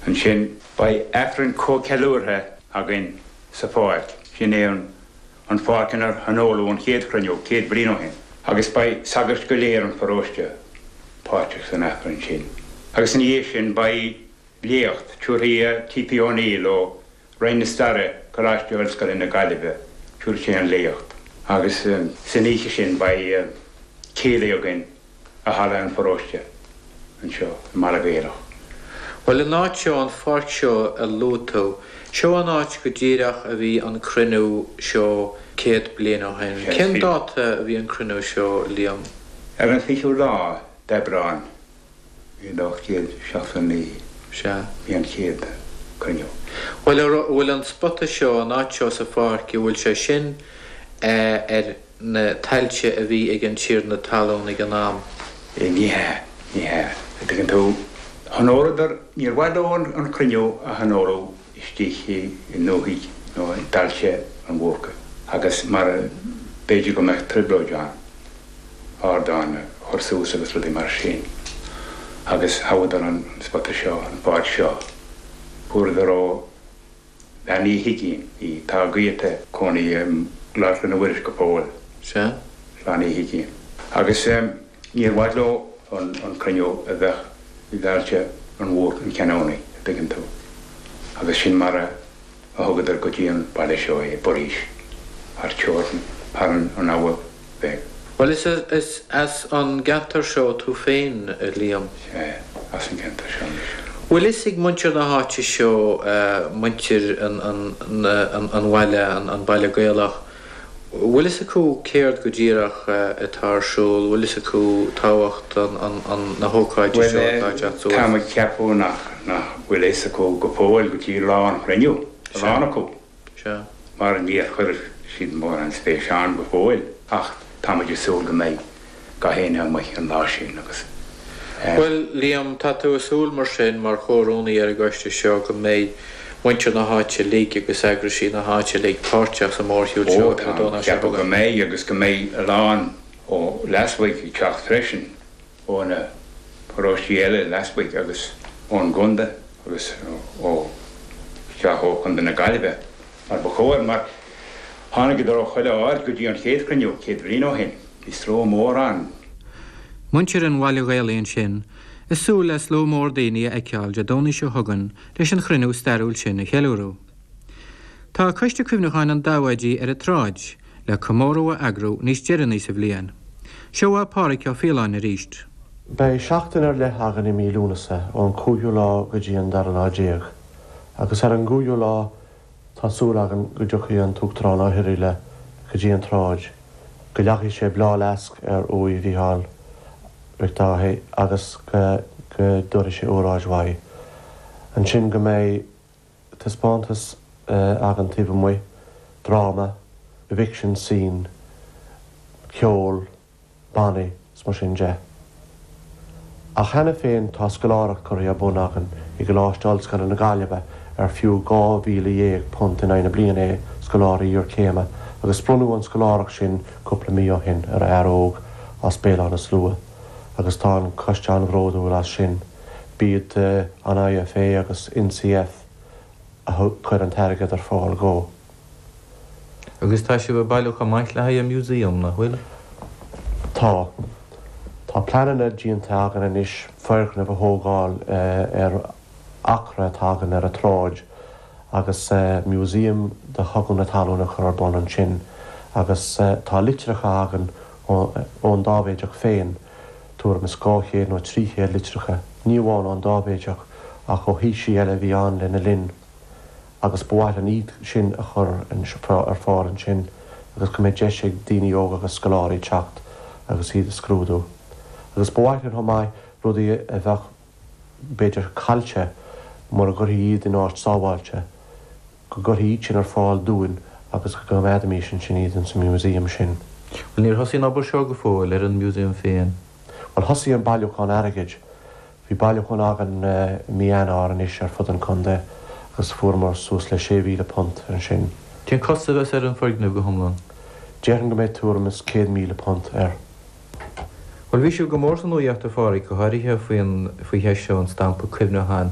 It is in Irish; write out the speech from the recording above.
Ansin beidh Aifreann comhcheiliúrtha againn sa pháirc, sin é an an pháirc inar thionóladh an chéad chruinniú 100 bliain ó shin, agus beidh sagairt go léir an pharóiste páirteach san Aifreann sin. Agus ina dhiaidh sin beidh léacht tabharfaidh T.P. O'Neill ó Roinn na Staire, Coláiste Ollscoile na Gaillimhe, tabharfaidh sé an léacht. Agus san oíche sin beidh céilí againn i halla an pharóiste anseo i mBaile Gaelach. Bhuel, an áit seo, an pháirc seo a luaigh tú, seo an áit go díreach a bhí an cruinniú seo 100 bliain ó shin. Cén dáta a bhí an cruinniú seo, Liam? Ar an 20ú lá d'Aibreán 1879 Sea. bhí an chéad cruinniú. Bhuel, an bhfuil an spota seo, an áit seo sa pháirc, an bhfuil sé sin ar na tailte a bhí ag an tiarna talún ag an am? Ní hea, ní hea. An dtuigeann tú, thionóladar, níor mhaith leo an cruinniú a thionóladh istigh i ndúthaigh nó i dtailte an Bhúrcaigh agus mar b'fhéidir go mbeadh trioblóid ann ardán a chur suas agus rudaí mar sin agus thoghadar an spota seo, an pháirc seo. Fuaireadar ó. Bean Uí Huigínn í. Tá a gaolta ina gcónaí i gClár Chloinne Mhuiris go fóill. Sea. Clann Uí Huigínn. Agus níor mhaith leo an cruinniú a bheith i dtailte an Bhúrc an Cheannánaí, a dtuigeann tú. Agus sin mar a thugadar go dtí an baile seo é, Buirís, thar teorainn, thar an abha bheag. Bhuel, is as an gceantar seo tú féin, a Liam. Sea, as an gceantar seo mise. Bhfuil fhios ag muintir na háite seo, muintir an bhaile, an Baile Gaelach, bhfuil fhios acu céard go díreach atá ar siúl, bhfuil fhios acu tábhacht na hócáide seo atá ag teacht suas? Bhuel, táim ag ceapadh nach bhfuil fhios acu go fóill go dtí lá an chruinniú, a lán acu. Sea. Mar níor chuir siad mórán spéis ann go fóill ach tá muid ag súil go mbeidh gach éinne amuigh an lá sin agus eh. Bhuel, Liam, tá tú ag súil mar sin, mar chomhrúnaí ar an gcoiste seo, go mbeidh muintir na háite uilig agus eagraisí na háite uilig páirteach sa mhórshiúl seo Ó, ar an tá, Domhnach seo ceapadh go chugainn. mbeidh agus go mbeidh a lán ó lasmuigh ag teacht freisin, ó na paróistí eile lasmuigh agus ón gcontae agus ó isteach ó Chontae na Gaillimhe mar ba chóir mar tháinigeadar ó chuile áit go dtí an chéad chruinniú 100 bliain ó shin. Bhí slua mór ann. Muintir an Bhaile Ghaelaigh ansin ag súil le slua mór daoine a fheiceáil Dé Domhnaigh seo chugainn leis an chruinniú stairiúil sin a cheiliúradh. Tá Coiste Cuimhneacháin an Dáibhéidigh ar an tsráid le comóradh a eagrú níos deireanaí sa bhliain. Seo uaidh Pádhraic Ó Faoláin arís. Beidh seachtain ar leith againn i mí Lúnasa, ón cúigiú lá go dtí an dara lá déag, agus ar an gcúigiú lá tá súil againn go dtiocfaidh an tUachtarán Ó hIrighile go dtí an tsráid, go leagfaidh sé bláthfhleasc ar uaigh Mhícheáil Mhic Dáithí agus go dtabharfaidh sé óráid uaidh. Ansin go mbeidh. taispeántas againn taobh amuigh, dráma, eviction scene, ceol, bannaí 's mar sin de. Ach cheana féin tá scoláireacht curtha ar bun againn i gColáiste Ollscoile na Gaillimhe ar fiú £12,000 in aghaidh na bliana é, scoláirí iarchéime, agus bronnadh an scoláireacht sin cúpla mí ó shin ar fhear óg as Béal Átha na Slua agus tá an coiste an-bhródúil as sin. B'iad an IFA agus NCF a chuir an t-airgead ar fáil dhó. Agus tá sibh ag bailiú chomh maith le haghaidh an museum, nach bhfuil? Tá. Tá pleananna déanta againn anois foirgneamh a thógáil ar acra atá againn ar an tsráid agus museum de Chogadh na Talún a chur ar bun ansin agus tá litreacha againn ón Dáibhéideach féin tuairim is 200 nó 300 litreacha, ní amháin ón Dáibhéideach ach ó thaoisigh eile a bhí ann lena linn, agus ba mhaith linn iad sin a chur ar fáil ansin agus go mbeidh deis ag daoine óga agus scoláirí teacht agus iad a scrúdú. Agus ba mhaith linn chomh maith rudaí a bheadh b'fhéidir caillte mura gcuirfí iad in áit sábháilte, go gcuirfí iad sin ar fáil dúinn agus go gcoimeádfaimís ansin iad ins an museum sin. Bhuel, níor thosaigh an obair seo go fóill, ar an museum féin. Bhuel, thosaigh an bailiúchán airgid. Bhí bailiúchán againn i mí Eanáir anois ar fud an chontae agus fuaireamar suas le £6,000 ansin. Cén costas a bheas ar an foirgneamh go hiomlán? Déarfainn go mbeidh tuairim is £100,000 air. Bhuel, bhí sibh go mór sa nuaíocht, a Phádhraic, go háirithe faoin, faoi cheist seo an stampa cuimhneacháin.